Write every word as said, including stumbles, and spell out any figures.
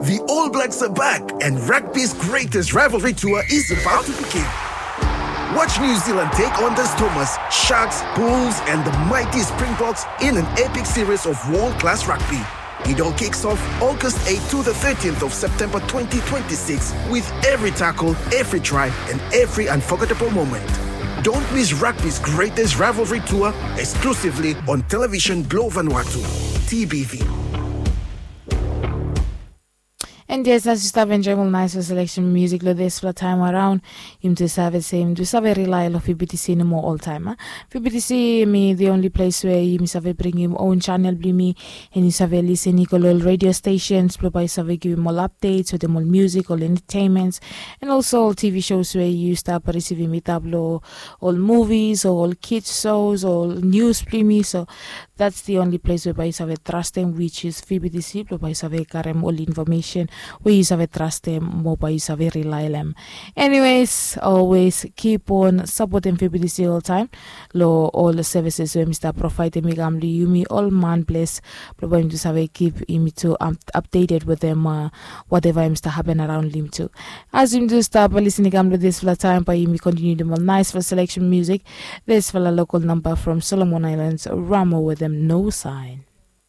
The All Blacks are back, and rugby's greatest rivalry tour is about to begin. Watch New Zealand take on the Stormers, Sharks, Bulls, and the mighty Springboks in an epic series of world class rugby. It all kicks off August eighth to the thirteenth of September twenty twenty-six, with every tackle, every try, and every unforgettable moment. Don't miss rugby's greatest rivalry tour, exclusively on Television Globe Vanuatu, T B V. And yes, as you stap enjoy ol nice selection music lo dispela time around, yumi tu save se yumi tu save rely lo V B T C nomo oltaim. V B T C mi the only place where yumi save bringim own channel bli mi, and you save listen i go lo ol radio stations blo bai save givim ol updates wetem ol music, ol entertainments, and also ol T V shows where you stap receivim i tap lo ol movies o ol kids shows o ol news bli mi. So that's the only place whereby you save trust them, which is V B T C, blo bai save karem ol information where you save trust them, mo bai you save rely them. Anyways, always keep on supporting V B T C all time. Lo all the services where Mr. Provide them, Migam Liumi, all man bless. Blo bai you save keep him to um, updated with them, uh, whatever him to happen around him too. As him to stop listening, come to this flat time, by him continue them on nice for selection music. This for a local number from Solomon Islands, Ramo with them, no sign.